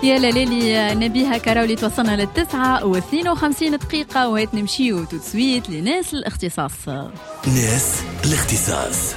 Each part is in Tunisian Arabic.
يا لالي نبيها كراولي، توصلنا ل9:52 وهات نمشيو tout de suite لناس الاختصاص. ناس الاختصاص.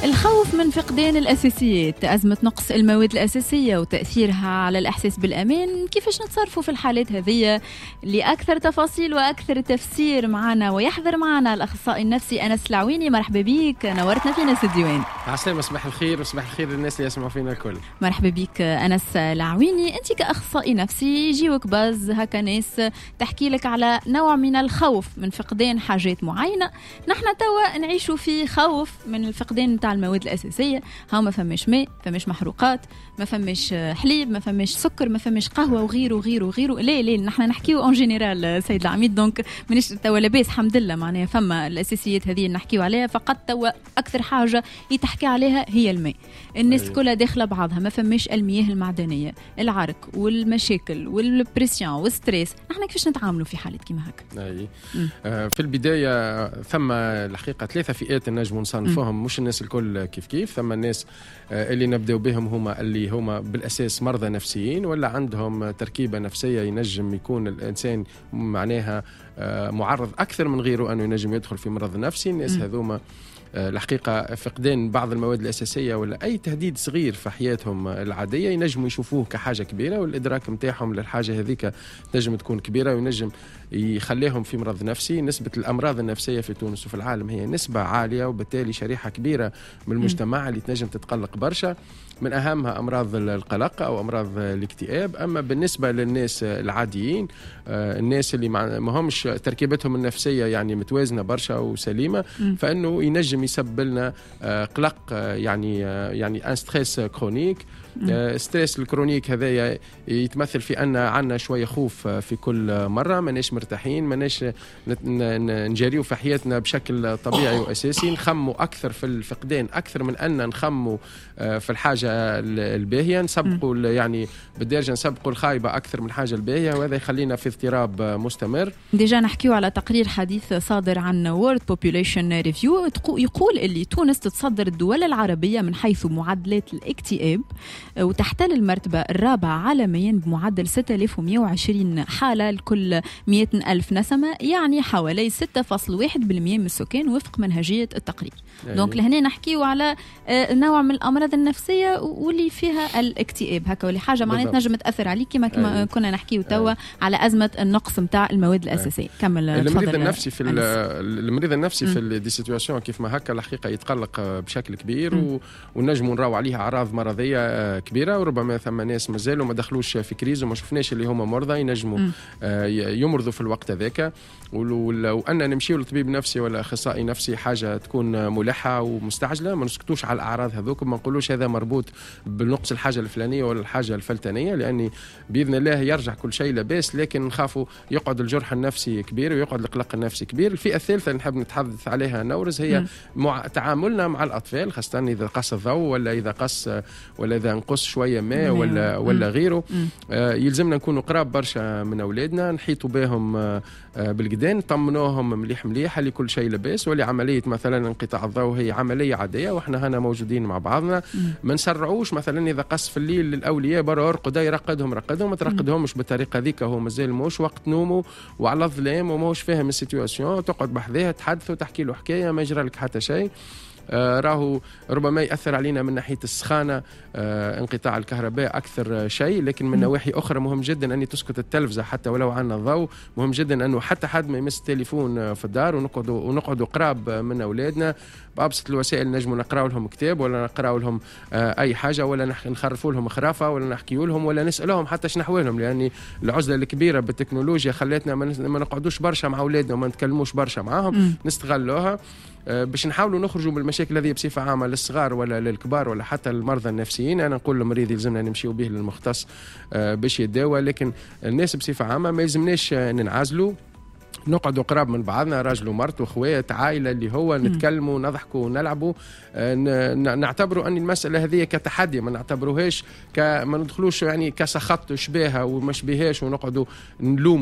الخوف من فقدان الأساسيات، أزمة نقص المواد الأساسية وتأثيرها على الإحساس بالأمان، كيفاش نتصرفوا في الحالات هذه؟ لأكثر تفاصيل وأكثر تفسير معنا ويحضر معنا الأخصائي النفسي أنس العويني. مرحبا بك، نورتنا في ناس الديوان. عسلامة، صباح الخير وصباح الخير للناس اللي يسمعوا فينا الكل. مرحبا بك أنس العويني. أنت كأخصائي نفسي يجيوك باز هكا ناس تحكي لك على نوع من الخوف من فقدان حاجات معينة. نحن توا نعيشوا في خوف من الفقدان تاع المواد الأساسية، هاو ما فماش ماء، فماش محروقات، ما فماش حليب، ما فماش سكر، ما فماش قهوة وغيره وغيره وغيره. لا لا، نحن نحكيو en général سيد العميد، donc مانيش توا لاباس الحمد لله، معناها فما الأساسيات هذه نحكيو عليها فقط. توا أكثر حاجة يتحكي عليها هي الماء، الناس كلها داخلة بعضها، ما فماش المياه المعدنية، العرك والمشاكل وال pression وال stress. نحن كيفاش نتعاملوا في حالة كيما هكا؟ أي. في البداية ثم الحقيقة ثلاثة فئات نجم نصنفوهم، مش الناس الكل كيف كيف. ثم الناس اللي نبداو بهم هما اللي هما بالاساس مرضى نفسيين ولا عندهم تركيبه نفسية ينجم يكون الانسان معناها معرض اكثر من غيره انه ينجم يدخل في مرض نفسي. الناس هذوما الحقيقة فقدان بعض المواد الاساسية ولا اي تهديد صغير في حياتهم العادية ينجموا يشوفوه كحاجة كبيره، والادراك نتاعهم للحاجة هذيك تنجم تكون كبيرة وينجم يخليهم في مرض نفسي. نسبه الامراض النفسية في تونس وفي العالم هي نسبه عاليه، وبالتالي شريحة كبيرة من المجتمع اللي تنجم تتقلق برشا، من اهمها امراض القلق او امراض الاكتئاب. اما بالنسبة للناس العاديين، الناس اللي ما همش تركيبتهم النفسية يعني متوازنة برشا وسليمه، فانه ينجم يسبب لنا قلق، يعني un stress chronique. stress ال chronique هذايا يتمثل في ان عندنا شوية خوف في كل مره، ماناش مرتاحين، ماناش نجاريو في حياتنا بشكل طبيعي واساسي، نخموا اكثر في الفقدان اكثر من ان نخموا في الحاجة الباهيه، نسبقوا يعني بالدارجة نسبقوا الخايبة اكثر من الحاجة الباهيه، وهذا يخلينا في اضطراب مستمر. déjà نحكيو على تقرير حديث صادر عن World Population Review يقول اللي تونس تتصدر الدول العربية من حيث معدلات الاكتئاب وتحتل المرتبة الرابعة عالميا بمعدل 6120 حالة لكل 100 ألف نسمة، يعني حوالي 6.1% من السكان وفق منهجية التقرير. donc لهنا نحكيو على نوع من الأمراض النفسية واللي فيها الاكتئاب هكا، واللي حاجة معناتها تنجم تأثر عليك كما كنا نحكيو توا على أزمة النقص نتاع المواد الأساسية. كمل. المريض النفسي في des situations كيف ما هكا الحقيقة يتقلق بشكل كبير ونجموا نراو عليه أعراض مرضية كبيرة، وربما ثم ناس مازالوا ما دخلوش في crise وما شفناش اللي هما مرضى ينجموا يمرضوا في الوقت هذاك. وان نمشيو لطبيب نفسي ولا اخصائي نفسي حاجة تكون ملحة ومستعجله، ما نسكتوش على الاعراض هذوك، ما نقولوش هذا مربوط بنقص الحاجة الفلانية ولا الحاجة الفلتانيه، لاني باذن الله يرجع كل شيء لاباس، لكن نخافوا يقعد الجرح النفسي كبير ويقعد القلق النفسي كبير. الفئة الثالثة اللي نحب نتحدث عليها نورز هي مع تعاملنا مع الاطفال، خاصة اذا قص الضوء ولا اذا قص ولا اذا نقص شوية ماء ولا غيره. يلزمنا نكونوا قراب برشا من اولادنا، نحيطوا بهم بالقدا، نطمنوهم مليح مليح اللي كل شيء لاباس، واللي عملية مثلا انقطاع الضوء هي عملية عادية واحنا هنا موجودين مع بعضنا. ما نسرعوش، مثلا اذا قص في الليل للاولياء برا ارقد، يرقدهم رقدهم، ما ترقدهمش بالطريقة ذيك، هو مازال موش وقت نومه وعلى الظلام وماهوش فاهم ال situation. تقعد بحذاه، تحدثه، تحكي له حكايه، ما يجرى لك حتى شيء. راهو ربما ياثر علينا من ناحية السخانه انقطاع الكهرباء اكثر شيء، لكن من نواحي اخرى مهم جدا ان تسكت التلفزة حتى ولو عندنا الضوء، مهم جدا انه حتى حد ما يمس التليفون في الدار، ونقعدوا قراب من اولادنا بابسط الوسائل. نجموا نقراو لهم كتاب ولا نقراو لهم اي حاجة ولا نخرفوا لهم خرافه ولا نحكيوا لهم ولا نسالهم حتى شنو احوالهم، لان العزلة الكبيرة بالتكنولوجيا خلتنا ما نقعدوش برشا مع اولادنا وما نتكلموش برشا معاهم. نستغلوها باش نحاولوا نخرجوا من المشاكل هذه بصفة عامة للصغار ولا للكبار ولا حتى المرضى النفسيين. انا نقول للمريض يلزمنا نمشيو به للمختص باش يداوى، لكن الناس بصفة عامة ما يلزمناش ننعزلوا، نقعدوا قراب من بعضنا، راجل ومرته، اخوات، عائله، اللي هو نتكلموا، نضحكوا ونلعبوا، نعتبروا ان المسالة هذه كتحدي، ما نعتبروهاش ما ندخلوش يعني كسخط شبيهه وما شبيهاش ونقعدوا نلوم.